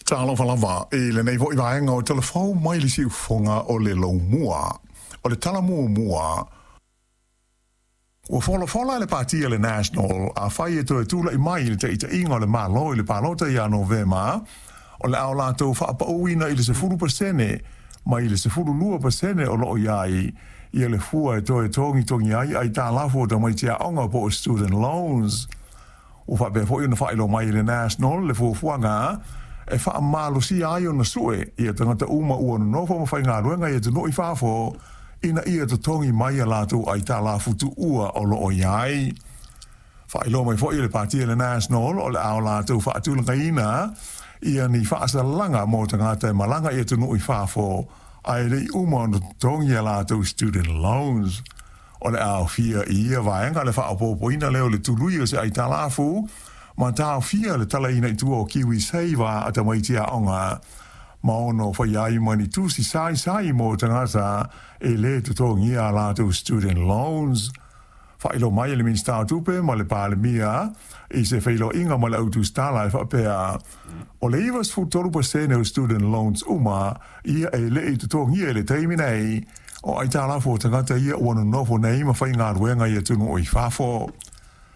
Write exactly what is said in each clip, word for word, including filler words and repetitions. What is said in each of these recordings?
Talofa lava i lenei fo'i vaega o Talafou mai le Siufofoga o le Laumua. O le tala muamua ua folafola e le Pati a le National, afai e toe tula'i mai i le taʻitaʻiga o le Malo i le palota ia Novema, o le a o latou faapauina i le sefulu pasene mai le sefulu lua pasene o loo i ai ia le fua e toe togitogi ai aitalafu o tamaiti aoga po o student loans. Ua faapea foi ona faailoa mai e le National le fuafuaga e faamalosia ai ona sue ia tagata uma ua nonofo ma faigaluega i atunuu i fafo ina ia totogi mai a latou aitalafu tuua o loo i ai. Faailoa mai foi e le Pati a le National o le a o latou faatulagaina ia ni faasalaga mo tagata e malaga i atunuu i fafo ae le i uma ona totogi a latou student loans. O le aofia i ia vaega le faaopoopoina lea o le tului o se aitalafu ma taofia le talaina i tua o KiwiSaver a tamaiti aoga ma ono faia ai ma ni tusi saisai mo tagata e lē totogia a latou student loans. Faailoa mai e le Minisita o Tupe ma le Palemia i se feiloaiga ma le au tusitala e faapea, o le ivasefulu tolu pasene o student loans uma ia e le i totogia i le taimi nei o aitalafu o tagata ia ua nonofo nei ma faigaluega i atunuu i fafo.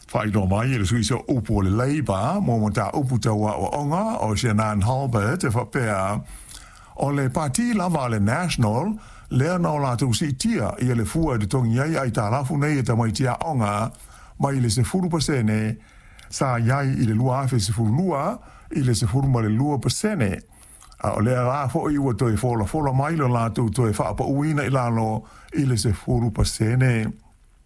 Faailoa mai e le sui sooupu o le Labour mo mataupu tau aoaoga o Shannan Hulbert e faapea, o le Pati lava a le National lea na o latou siitia ia le fua e totogi ai aitalafu nei e tamaiti aoga mai le sefulu pasene sa i ai i le lua afe sefulu lua i le sefulu ma le lua pasene, a o lea la fo'i ua toe folafola mai lo latou toe faapauina i lalo i le sefulu pasene.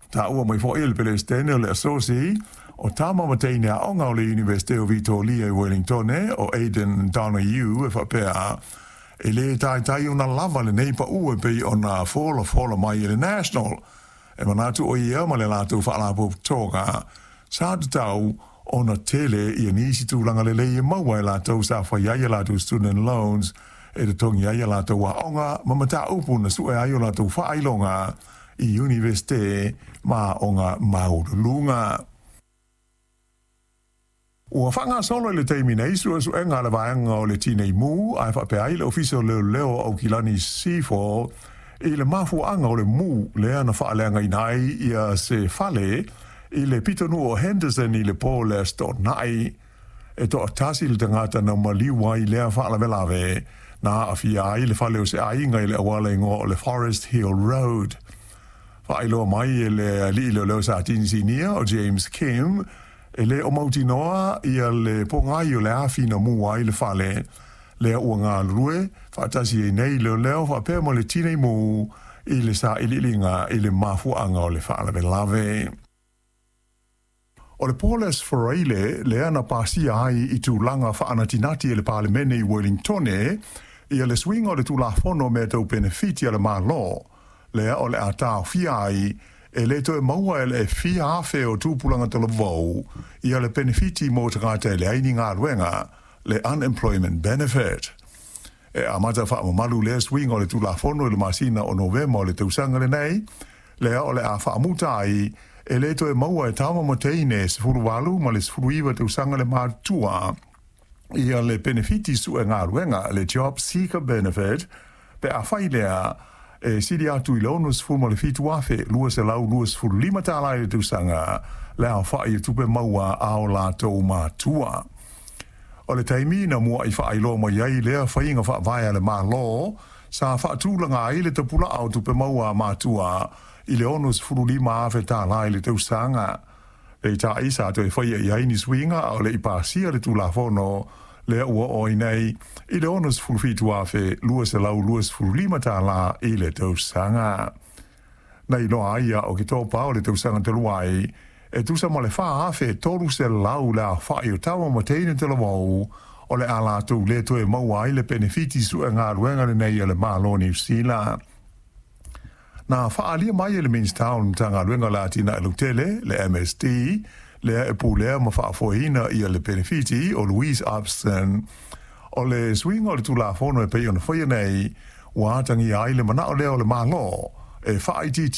Taua mai fo'i e le Peresetene o le Asosi o Tama ma Teine Aoga o le Iunivesite o Vitolia i Wellingtone o Aidan Donoghue e faapea, e lē taitai ona lava lenei paʻu e pei ona folafola mai e le National. E manatu ʻo ia ma le latou faalapotopotoga sa tatau ona tele ia nisi tulaga lelei e maua e latou sa fai ai a latou student loans e totogi ai a latou aoga ma mataupu na sue ai o latou faailoga i iunivesite ma aoga maualuluga. Ua faagasolo i le taimi nei suesuega a le vaega o le Tinei Mu ae faapea ai le Ofisa o Leoleo o Aukilani Seaford i le mafuaaga o le mu lea na faaleagaina ai ia se fale i le pitonuu o Henderson i le po o le Aso Toonai. E toatasi le tagata na maliu ai i lea faalavelave na aafia ai le fale o se aiga i le auala igoa o le Forest Hill Road. Faailoa mai e le alii leoleo Satini Sinia o James Kim, e le o mautinoa ia le pogai o le afi na mu ai le fale lea ua galulue faatasi ai nei leoleo faapea ma le tinei mu i le sailiiliga i le mafuaaga o le faalavelave. O le Paul Freile lea na pasia ai i tulaga faanatinati e le Palemene i Wellingtone ia le suiga o le Tulafono o Mea Tau Penefiti a le Malo, lea o le a taofia ai e le toe maua e le fia afe o tupulaga talavou ia le penefiti mo tagata e leai ni galuega, le Unemployment Benefit. E amata faamamalu lea suiga o le Tulafono i le masina o Novema o le tausaga lenei, lea o le a faamuta ai e le toe maua e tama ma teine sefulu valu ma le sefulu iva tausaga le matutua ia le penefiti sue galuega, le Job Seeker Benefit, pe afai lea e sili atu i le ono sefulu ma le fitu afe lua selau lua sefulu lima tālā i le tausaga le aofaʻi o tupe maua a o latou matua. O le taimi na muaʻi faailoa mai ai lea faiga faavae a le Malo, sa faatulaga ai le tapulaa o tupe maua a matua i le ono sefulu lima afe tālā i le tausaga. Peitai sa toe faia i ai ni suiga a o le i pasia le Tulafono lea ua oo ai nei i le ono sefulu fitu afe lua selau lua sefulu lima tālā i le tausaga. Na iloa ai ia Oketopa o le tausaga talu ai, e tusa ma le fa afe tolu selau le aofaʻi o tama ma teine talavou o le a latou le toe maua ai le penefiti sue galuega lenei a le Malo o Niu Sila. Na faaalia mai e le Minisita o le Matagaluega o le Atinae Lautele, le M S D, lea e pulea ma faafoeina ia le penefiti o Louise Upston, o le suiga o le Tulafono e pei ona faia nei, ua atagia ai le manao lea o le Malo e faaitiitia